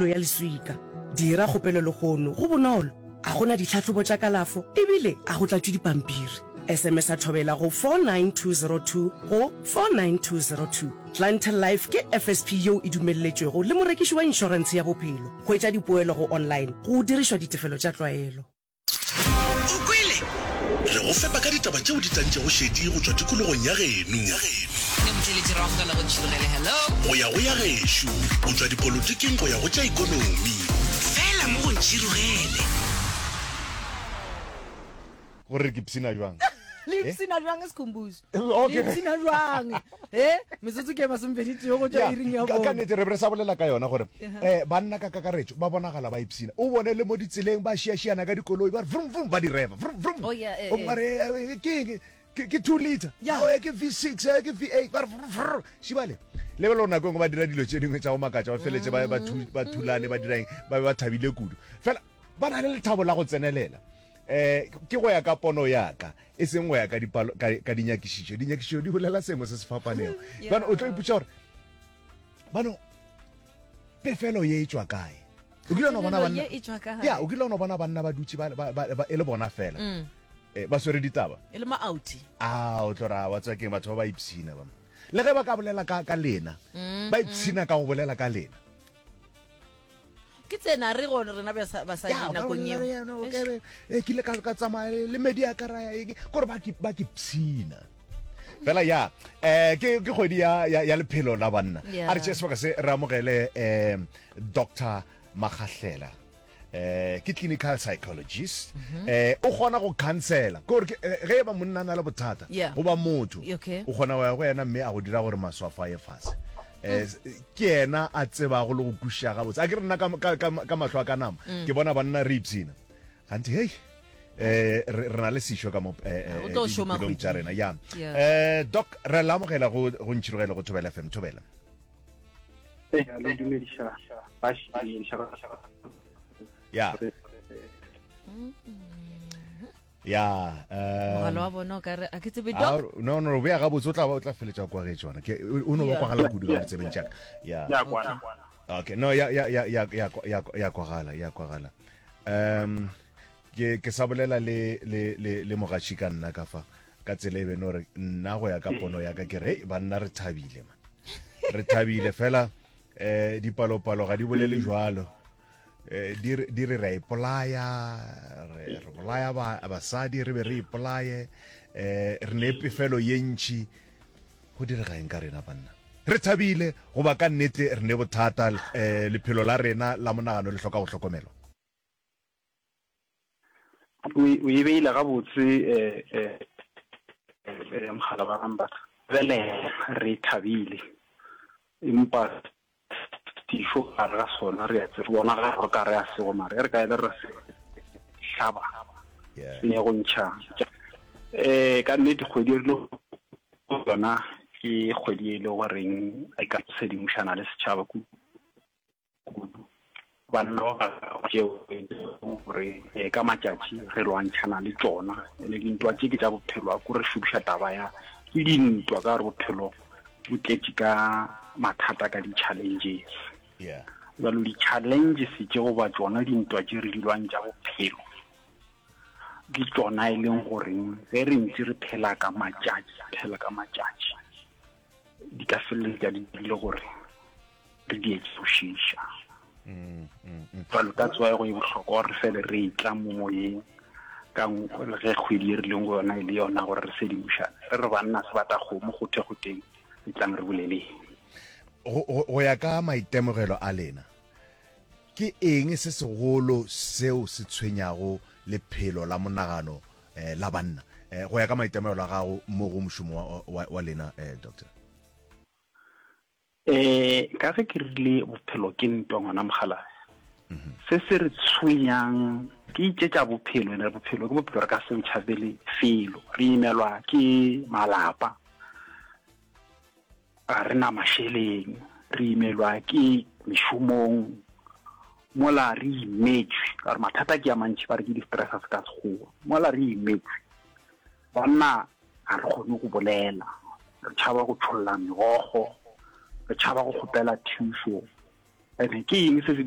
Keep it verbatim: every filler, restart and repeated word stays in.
pulo ya leswika. Dira kgopelo lehono, go bonolo, a go na ditlhahlobo tša kalafo ebile a go tlatšwe dipampiri. S M S a Thobela go four nine two zero two go four nine two zero two. Clientele Life ke F S P yeo e dumelletšwego le morekiši wa inšorentshe ya bophelo. Hwetša dipoelo go online go dirišwa ditefelo tša tlwaelo. O kwele? Re go fepa ka ditaba tšeo di tantšego šedi go tšwa tikologong ya geno. Ne motheletši ra amogela go Ntšhirogele, hello. Go ya go ya gešo, go tšwa dipolotiking go ya go tša ikonomi. Fela mo go Ntšhirogele. Gore ke ipshina jwang? Le ipshina jwang, Sekhumbuzo? Okay. Le ipshina jwang e metsotso ke masomepedi tee go tšwa iring ya ka ka bone. Nnete re be re sa bolela ka yona gore um banna ka kakaretso ba bonagala ba ipshina. O bone le mo ditseleng ba šiašiana ka dikoloi, ba re vrum vrum, ba di reva vrum vrum. Oh, yeah, eh, O eh. ba re eh, ke eng? ke ke two liter. Yeah. Oh, eh, ke V six, eh, ke V eight, ba re vrum, vrum. Šibale lebelo nako e nngwe ba dira dilo tše dingwe tša go makatša, ba feletse ba ba thu- ba thulane, ba dira eng, ba be ba thabile kudu, fela ba na le lethabo la go tsenelela. um ke go ya ka pono ya ka, e seng go ya ka dipalo, ka, ka dinyakišišo. Dinyakišišo di bolela sengwe se se fapanego. Bano o tlo ipotša gore bano pefelo ye e tšwa kae. O kile wa no bona Pefelo banna ye e tšwa kae? Ya, o kile wa no bona banna ba dutše ba, ba, ba, ba, e le bona fela, Mm. eh, ba swere ditaba. E le ma-outi. A o tlo ra wa tswa keng, batho ba ba ipshina ba le ge ba ka bolela ka, ka lena, Mm, ba ipshina ka go bolela ka lena. Ke tsena re gone rena basa- basadi Ya, o ka nakong bolela eo. le yena, o ka be, eh, ke ile ka ka tsamaya le medi ya ka ra ya eng, kore ba ke ba ke pshina fela ya. eh ke ke kgwedi ya ya, ya lephelo la banna. Yeah. A re tšee sebaka se re amogele eh Doctor Magahlela, eh ke clinical psychologist, eh o kgona go counsela ke gore ke- eh, ge e ba monna a na le bothata Yeah. goba motho, Okay. o kgona go ya go yena mme a go dira gore maswafo a ye fase. eh ke yena a tsebago le go kwešiša gabotse. A ke re nna ka, ka, ka, ka mahlo a ka nama ke bona banna re ipshina gante hei, eh re re na le sešo ka mo eh, eh, O tlo šoma diphelong tša kgweding. rena ya. Yeah. eh doc re la amogela go go Ntšhirogele go Thobela F M. Thobela. Ee, le dumediša baši. ya ya eh, Mogala wa bona o ka re a ke tsebe, Ah, doc. no no o bea gabotse, o tla ba o tla feletša kwa getše ona. Ke o no ba Yeah. kwagala kudu ka ditsebeng tša ka ya. Ya kwana. Okay, no, ya ya ya ya ya ya ya kwagala, ya kwagala. um ke ke sa bolela le le le le mogatši ka nna ka fa ka tsela e beno re nna go ya ka pono ya ka ke re, "Hei, banna re thabile man, re thabile fela eh dipalopalo ga di bolele jwalo. eh di re di re re a ipolaya, re re bolaya ba basadi, re be re ipolaye, eh re ne pefelo ye ntši. Go direga eng ka rena banna? Re thabile goba ka nnete re ne bothata? eh lephelo la rena la monagano le hloka go hlokomelwa. O o e beile gabotse, eh eh eh mogala wa gambata. Bele re thabile, empa dišo gare ga sona re a tse re bona ga re ka re a sego, mare re ka ele re se hlaba yeah se go ntšha. eh ka nnete kgwedi e re le yona ke kgwedi e le goreng e ka sedimošana le setšhaba kudu. Banna ba tšeo gore eh, ka matšatši re lwantšhana le tšona, ene dintwa tše ke tša bophelo. A ko re šomiša taba ya ke dintwa ka gore bophelo bo tletše ka mathata, ka di-challenges. Yeah jalo di-challenges tše goba tšona dintwa tše re di lwantša bophelo ke tšona e leng goreng ge re ntse re phela ka matšatši, phela ka matšatši, di ka feleletša di dirile gore re di etse go šiša. mm, mm, mm. Jalo that's why go e bohlokwa gore re fele re etla mo moyeng ka ng- ge kgwedi e re leng go yona e le yona gore re sedimošane, re re banna se bata kgomo go the go teng e tlang re boleleng. go go- go ya ka maitemogelo a lena, ke eng se segolo seo se tshwenyago lephelo la monagano eh, la banna, eh, go ya ka maitemogelo a gago mo go mošomo wa, wa, wa lena, eh, doctor? eh ka ge ke rile bophelo ke ntwa, ngwana mogalabe, se se re tshwenyang ke itšetša bophelo, ene bophelo ke bophelo, re ka se tšhabele felo. Re imelwa ke malapa, ga re na mašeleng, re imelwa ke mešomong, mola re imetswe ka gore mathata ke a mantši, ba re ke di-stressors ka Sekgowa. Mola re imetswe, banna ga re kgone go bolela, re tšhaba go tšholla megogo, re tšhaba go kgopela thušo. Ene ke eng se se